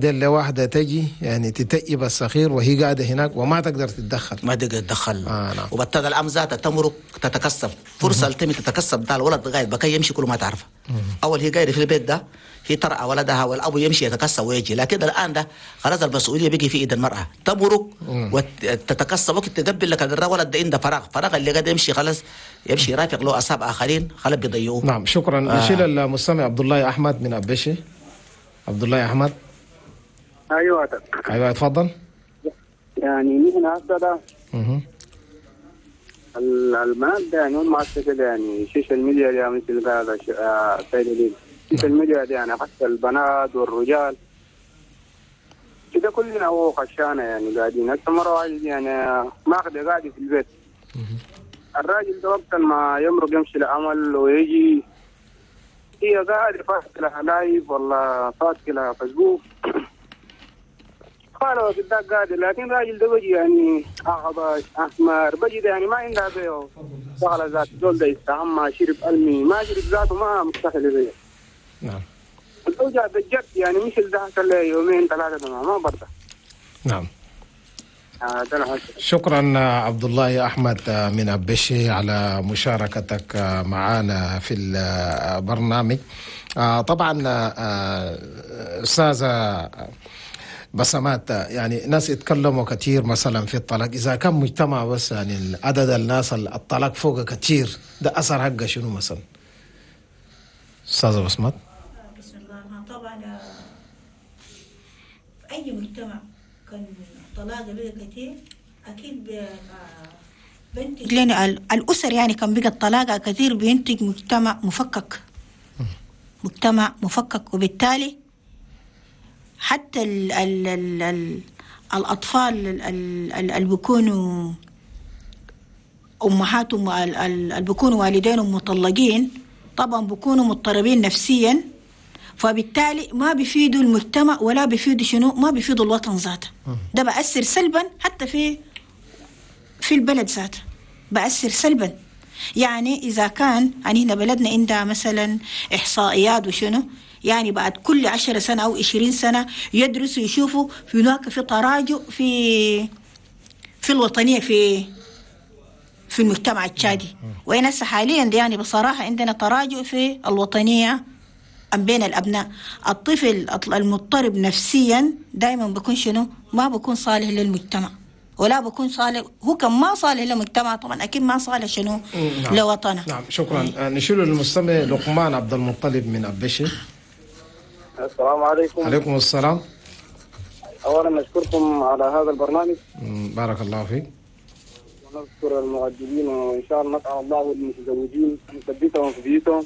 دي لواحدة تجي يعني تتأيب الصغير وهي قاعدة هناك وما تقدر تتدخل. ما تقدر تتدخل. نعم. وبالتالي الأم ذاتها تمرق تتكسب فرصة التمي تتكسب، ده الولد قاعد بكي يمشي كل ما تعرفه. أول هي قاعدة في البيت ده هي ترعى ولدها والأبو يمشي يتكسب ويجي، لكن الآن ده خلاص المسؤولية بقي في إيد المرأة، تمرق وتتكسب وقت تقبل لك الولد ده عنده فراغ اللي قاعد يمشي خلاص يمشي يرافق له أصحاب آخرين خلاص بيضيعوه. نعم شكرا. نشيل المستمع عبد الله أحمد من أبشي. عبد الله أحمد. ايوه ايوه اتفضل. يعني نحن هسه ده البنات ده يعني هم هسه كده يعني ال social media دي مثل هذا السيد ال social media دي يعني حتى البنات والرجال كده كلنا هو خشانه يعني قاعدين هسه مرة واحدة يعني ماخذة قاعدة في البيت. الراجل ده وقت ما يمرق يمشي العمل ويجي هي قاعدة فاتحة لها live ولا فاتحة لها فيسبوك قالوا قدام قاعد، لكن الراجل ده بيجي يعني أغبش أحمر بيجي يعني ما عندها بيه شغلة ذات زول ده يستعمى شرب ألمي ما شرب ذاته ما مستحيل زيه. نعم. الأوجع بالجد يعني مش اللي حصل يومين ثلاثة ما برضه. نعم. شكرا عبد الله أحمد من أبشي على مشاركتك معنا في البرنامج. طبعا أستاذة بسمات، يعني ناس يتكلموا كثير مثلا في الطلاق، إذا كان مجتمع بس يعني عدد الناس الطلاق فوق كثير، ده أثر حقه شنو مثلا؟ أستاذة بسمات. بسم الله. طبعا في أي مجتمع كان الطلاق بقى كثير أكيد بينتج لنا الأسر، يعني كان بقى الطلاق كثير بينتج مجتمع مفكك، مجتمع مفكك، وبالتالي حتى ال ال ال ال الأطفال اللي بيكونوا أمهاتهم اللي بيكونوا والدينهم مطلقين طبعا بيكونوا مضطربين نفسيا، فبالتالي ما بيفيدوا المجتمع ولا بيفيدوا شنو، ما بيفيدوا الوطن ذاته. ده بأثر سلبا حتى في البلد ذاته، بأثر سلبا. يعني إذا كان يعني هنا بلدنا عندها مثلا إحصائيات وشنو، يعني بعد كل 10 سنة أو 20 سنة يدرسوا يشوفوا في هناك في تراجع في الوطنية في المجتمع التشادي. وين هسه حاليا يعني بصراحة عندنا تراجع في الوطنية بين الأبناء. الطفل المضطرب نفسيا دائما بيكون شنو، ما بيكون صالح للمجتمع ولا بكون صالح، هو كان ما صالح للمجتمع طبعا اكيد ما صالح شنو. نعم. لوطنه. نعم شكرا. نشيل المستمع لقمان عبد المطلب من أبشي. السلام عليكم. عليكم السلام. اولا نشكركم على هذا البرنامج. بارك الله فيك. ونشكر المعدلين وان شاء الله نسال الله المتزوجين ان يثبتهم في بيوتهم.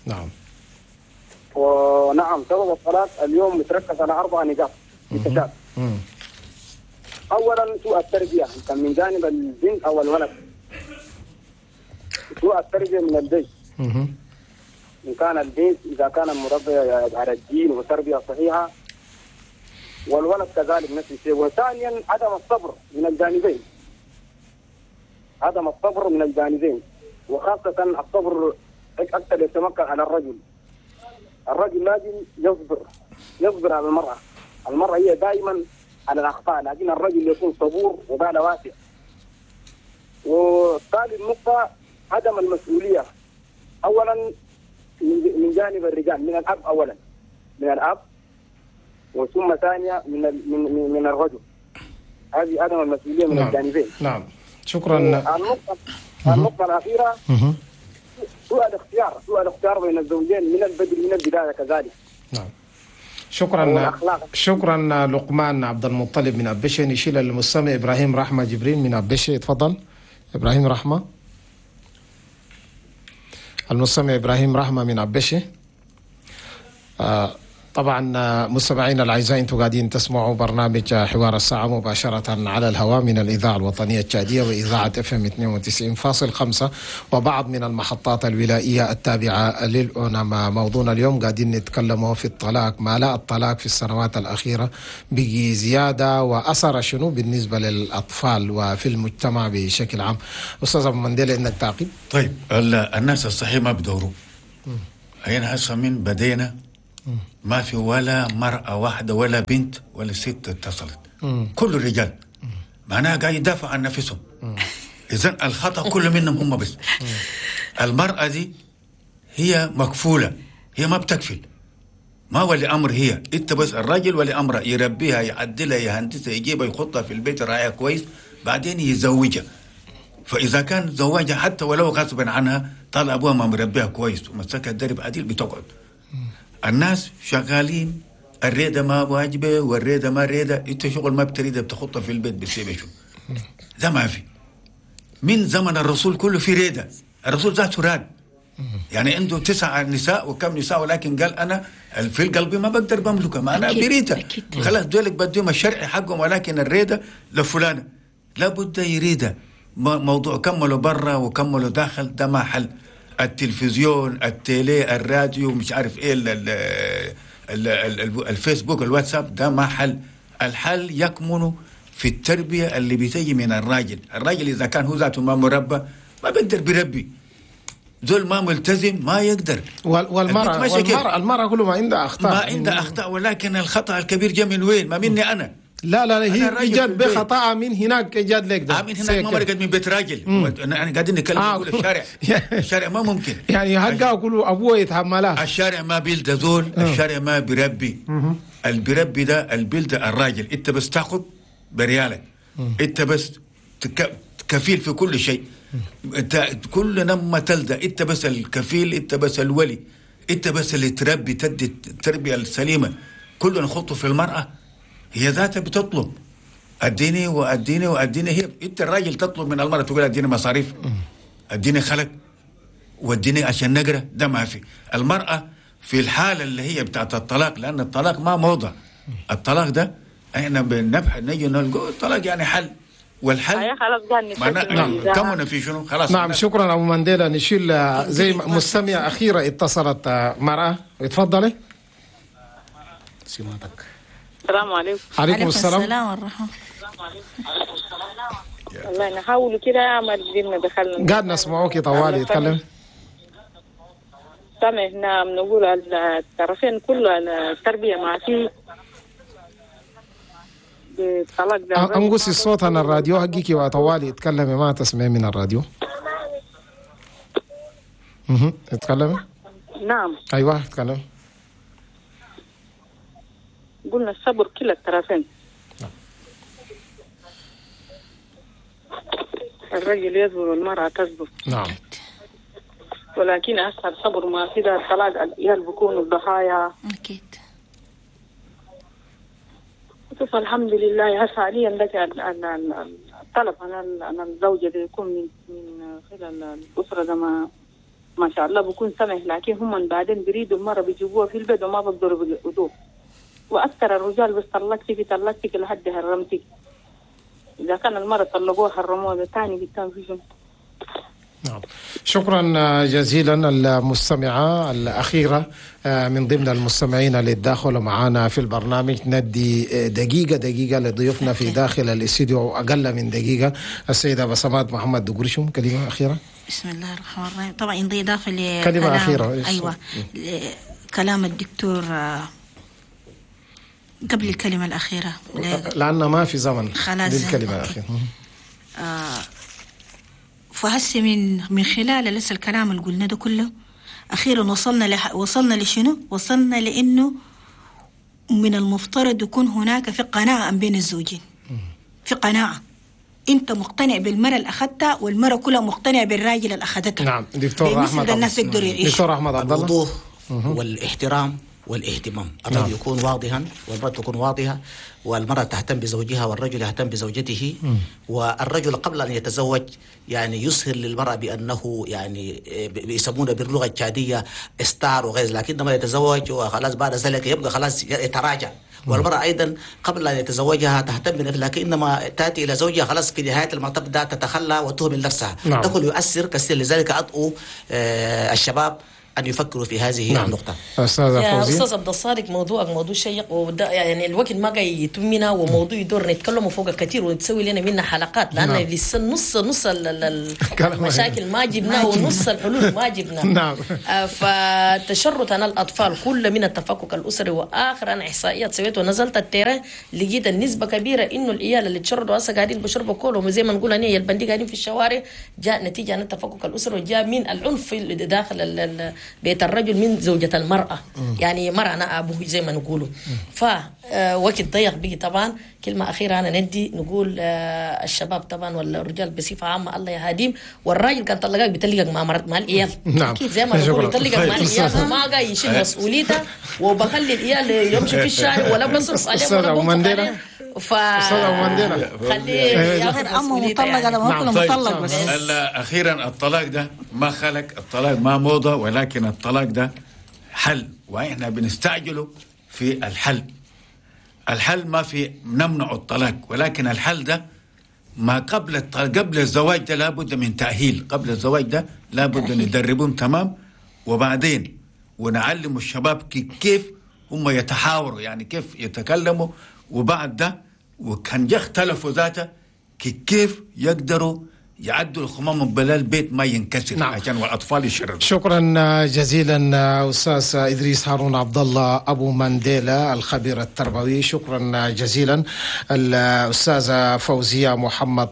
نعم. ونعم سبب الطلاق اليوم متركز على 4 نقاط في التشاد. اولا سوء التربية كان من جانب البنت او الولد. سوء التربية من البيت. ان كان البنت اذا كان مربيه على الدين وتربيه صحيحه، والولد كذلك نفس الشيء. وثانيا عدم الصبر من الجانبين. عدم الصبر من الجانبين، وخاصة الصبر اكثر يتمكن على الرجل. الرجل لازم يصبر على المراة. المراة هي دائما على الأخطاء، لكن الرجل يكون صبور وباله واسع. وثالث نقطة عدم المسؤولية، أولا من جانب الرجال، من الأب أولا، من الأب، وثم ثانية من من الرجل. هذه عدم المسؤولية من نعم. الجانبين. نعم شكرا. النقطة الأخيرة سوء الاختيار، سوء الاختيار بين الزوجين من البدء من البداية كذلك. نعم شكرا. شكرا لقمان عبد المطلب من أبشي. نشيل المستمع إبراهيم رحمة جبريل من أبشي. تفضل إبراهيم رحمة. المستمع إبراهيم رحمة من أبشي. طبعا مستمعينا الاعزاء، انتم قاعدين تسمعوا برنامج حوار الساعة مباشرة على الهواء من الاذاعة الوطنية التشاديه واذاعة FM 92.5 وبعض من المحطات الولائيه التابعة للأونما. موضوعنا اليوم قاعدين نتكلموا في الطلاق، ما لا الطلاق في السنوات الاخيرة بقي زيادة واثر شنو بالنسبة للاطفال وفي المجتمع بشكل عام. استاذ ابو منديل عندك تعقيب؟ طيب الناس الصحيح ما بدوروا. هنا هسه من بدينا ما في ولا مرأة واحدة ولا بنت ولا ست اتصلت، كل الرجال معناها قاعد يدافع عن نفسهم. إذن الخطأ كله منهم هم بس. المرأة دي هي مكفولة، هي ما بتكفل، ما ولي أمر هي، أنت بس الراجل ولي أمره، يربيها يعدلها يهندسها يجيبها يحطها في البيت يراعيها كويس، بعدين يزوجها. فإذا كان زواجها حتى ولو غصبا عنها، طال أبوها ما مربيها كويس ومسكها الدرب عديل بتقعد. الناس شغالين الريدة ما واجبة والريدة ما ريدة، انت شغل ما بتريده بتخطها في البيت بتسيبه شو ده ما في. من زمن الرسول كله في ريدة، الرسول ذاته راد، يعني عنده 9 نساء وكم نساء، ولكن قال أنا في القلب ما بقدر بملكها، ما أنا بريدة خلاص دولك بديهم الشرعي حقهم، ولكن الريدة لفلانة لابد يريدها. موضوع كملوا برا وكملوا داخل ده ما حل. التلفزيون، التيلي، الراديو، مش عارف ايه، الفيسبوك، الواتساب، ده ما حل. الحل يكمن في التربية اللي بتيجي من الراجل. الراجل إذا كان هو ذاته ما مربى ما بيقدر بيربي، زول ما ملتزم ما يقدر. والمرأة المرأة كله ما عندها أخطاء، ما عندها أخطاء، ولكن الخطأ الكبير جاء من وين؟ ما مني أنا. لا لا هي جات بخطأ من هناك، جات لك ده من هناك، ما مرقت من بيت راجل. انا قاعدين نتكلم نقول الشارع الشارع ما ممكن يعني حقه كله ابوه يتحملها. الشارع ما بيلد زول، الشارع ما بيربي. اللي بيربي ده البلد الراجل. انت بس تاخذ بريالك، انت بس كفيل في كل شيء، انت كل لما تلدى انت بس الكفيل، انت بس الولي، انت بس اللي تربي، تدي التربية السليمة. كله نخطه في المراة، هي ذاتها بتطلب اديني واديني واديني. هي انت الراجل تطلب من المراة تقول اديني مصاريف، اديني خلق، واديني عشان نقرا، ده ما في. المراة في الحالة اللي هي بتاعت الطلاق، لان الطلاق ما موضة، الطلاق ده احنا بنبحث نجي نلقى الطلاق يعني حل، والحل خلاص. كمنا في شنو خلاص. نعم شكرا ابو مانديلا. نشيل زي مستمع اخيرة اتصلت مراة، اتفضلي. سمعتك. السلام عليكم. عليكم السلام. السلام ورحمة والله نحاول كده ما قدرنا دخلنا. قاعد نسمعوك طوالي اتكلم. سامع. نعم نقول الطرفين كله التربية ما في الطلاق ده. انقصي الصوت عن الراديو حقك وطوالي اتكلمي، ما تسمعي من الراديو. اتكلمي. نعم. ايوه اتكلم. قلنا الصبر كلا الطرفين. الرجل يصبر والمرأة تصبر. نعم. ولكن أسهل صبر ما في ده الطلاق، العيال بيكونوا الضحايا. أكيد. شوف الحمد لله هسه حاليا لك الطلب عن الزوجة ده يكون من خلال الأسرة ده ما شاء الله بيكون سمح، لكن هم بعدين بيريدوا المرأة بيجيبوها في البيت وما بيقدروا بيقعدوها. وأكثر الرجال بس طلقتك طلقتك لحد هرمتك. إذا كان المرأة طلقوها حرموها ده ثاني قدام في شنو. نعم شكرا جزيلا المستمعة الأخيرة من ضمن المستمعين اللي تداخلوا معنا في البرنامج. ندي دقيقة دقيقة لضيوفنا في داخل الاستديو أو أقل من دقيقة. السيدة بسمات محمد دقرشم كلمة أخيرة. بسم الله الرحمن الرحيم. طبعا إضافة لكلام كلمة أخيرة. أيوة كلام الدكتور قبل الكلمة الأخيرة لأن ما في زمن للكلمة الأخيرة. فهسه من خلال لسه الكلام اللي قلنا ده كله، أخيرا وصلنا لشنو؟ وصلنا لأنه من المفترض يكون هناك في قناعة بين الزوجين، في قناعة أنت مقتنع بالمرأة اللي أخذتها والمرأة كلها مقتنعة بالراجل اللي أخذتها. نعم دكتور أحمد. الناس يقدروا يعيشوا. دكتور أحمد عبد الله. الوضوح والاحترام والاهتمام، الرجل يكون واضحا والمرأة تكون واضحة، والمرأة تهتم بزوجها والرجل يهتم بزوجته. والرجل قبل أن يتزوج يعني يظهر للمرأة بأنه يعني بيسمونه باللغة التشادية استار وغير، لكن لما يتزوج وخلاص بعد ذلك يبقى خلاص يتراجع. والمرأة أيضا قبل أن يتزوجها تهتم بنفسها، لكن إنما تأتي إلى زوجها خلاص في نهاية المطاف ده تتخلى وتهمل نفسها. نعم. ده كله يؤثر كثير. لذلك أدعو الشباب أن يفكروا في هذه النقطة. أستاذ عبد الصادق، موضوعك موضوع شيق، وده يعني الوقت ما جاي يتمنا، وموضوع يدور نتكلم فوق كثير ونسوي لنا منها حلقات، لأن لسه نص المشاكل ما جبناه ونص الحلول ما جبناه. نعم. فتشرد أنا الأطفال كل من التفكك الأسري، وآخر أنا إحصائيات سويت ونزلت ال terrain لقيت النسبة كبيرة إنه العيال اللي تشردوا هسه قاعدين بشربوا كولهم زي ما نقول أنا البندي قاعدين في الشوارع، جاء نتيجة عن التفكك الأسري، وجاء من العنف داخل بيت الرجل من زوجة المرأة. يعني مرأة أنا أبوه زي ما نقوله. فوقت ضيق بقي طبعا. كلمة أخيرة أنا ندي نقول الشباب طبعا والرجال بصفة عامة الله يهديهم، والراجل كان طلقك بتلقك مع مرت مع العيال. نعم. زي ما نقول يطلقك مع العيال وما قاعد يشيل مسؤوليته، وبخلي العيال يمشي في الشارع ولا بصرف عليهم ولا بنفق عليهم. خليه ياخذ امه مطلقه لما هو مطلق بس. اخيرا الطلاق ده ما خلق، الطلاق ما موضة، ولكن الطلاق ده حل، واحنا بنستعجله في الحل. الحل ما في نمنع الطلاق، ولكن الحل ده ما قبل الطلاق، قبل الزواج ده لابد من تأهيل، قبل الزواج ده لابد ندربهم تمام، وبعدين ونعلم الشباب كيف هم يتحاوروا، يعني كيف يتكلموا، وبعد ده وكان يختلفوا ذاته كيف يقدروا يعدوا الخمام بلا البيت ما ينكسر. نعم. عشان والاطفال يشردوا. شكرا جزيلا استاذ ادريس هارون عبد الله ابو مانديلا الخبير التربوي، شكرا جزيلا الاستاذة فوزيه محمد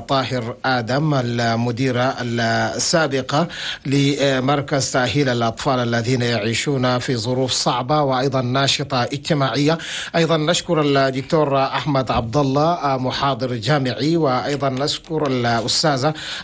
طاهر ادم المديرة السابقة لمركز تاهيل الاطفال الذين يعيشون في ظروف صعبة وايضا ناشطة اجتماعية. ايضا نشكر الدكتور احمد عبد الله محاضر جامعي، وايضا نشكر الاستاذ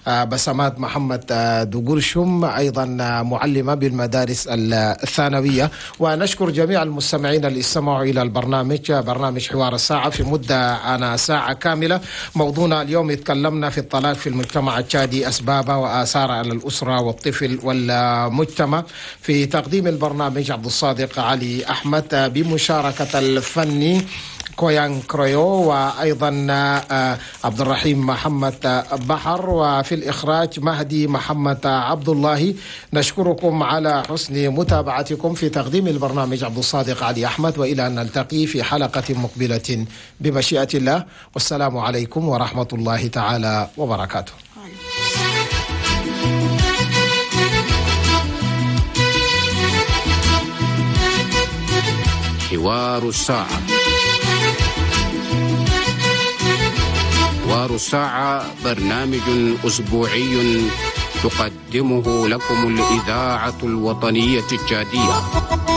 بسمات محمد دقرشم أيضا معلمة بالمدارس الثانوية. ونشكر جميع المستمعين اللي استمعوا إلى البرنامج، برنامج حوار الساعة في مدة أنا ساعة كاملة. موضوعنا اليوم اتكلمنا في الطلاق في المجتمع التشادي، أسبابه وآثاره على الأسرة والطفل والمجتمع. في تقديم البرنامج عبد الصادق علي أحمد بمشاركة الفني كويان كرويو، وأيضا عبد الرحيم محمد بحر، وفي الإخراج مهدي محمد عبد الله. نشكركم على حسن متابعتكم في تقديم البرنامج عبد الصادق علي أحمد، وإلى أن نلتقي في حلقة مقبلة بمشيئة الله، والسلام عليكم ورحمة الله تعالى وبركاته. حوار الساعة. حوار الساعة برنامج أسبوعي تقدمه لكم الإذاعة الوطنية التشادية.